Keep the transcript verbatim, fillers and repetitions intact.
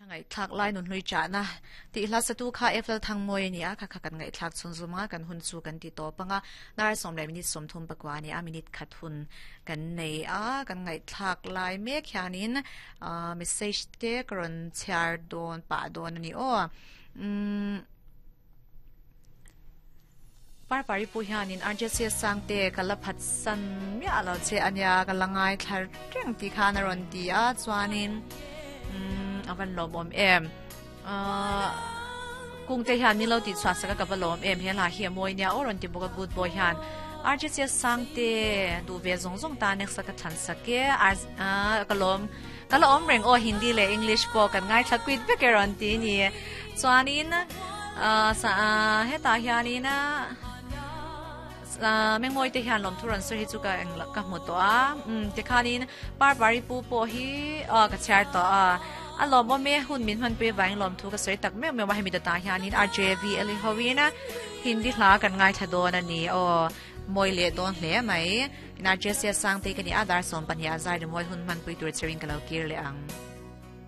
Ngai thak lai nun hlui cha na ti hla satu kha efl thang moi ni a kha kha kan ngai thak chun zuma kan hun chu kan ti to panga nar som le minute som thum pakwa ni a minute khat hun kan nei a kan ngai thak lai mek hianin message te karon chhiar don pa don ani o um par pari pu hianin R J C sangte kala phat san mi alo che ania kalangai thlar reng ti khana ron ti a chuanin avan lom em a kung te hian milo ti chwa saka ka balom em he la hi moi nia oron ti boka good boy hian R J C sangte du ve zong zong ta nek saka than sake a kalom kalom reng o Hindi le English po kan ngai thakwit ve keron ti ni chuanin a sa heta hianin a meng moi te hian lom thuran so hi chu ka eng ka mu to a um te khanin par bari pu po hi a ka char to a a lom o me hun min han pe wang lom thu ka soi tak me me wa hemi ta hianin R J V L howina Hindi hla kan ngai thadon ani o moi le don hle mai in R J C sang te kani adar som pan ya zai moi hun man pui tur chering ka lo kir le ang.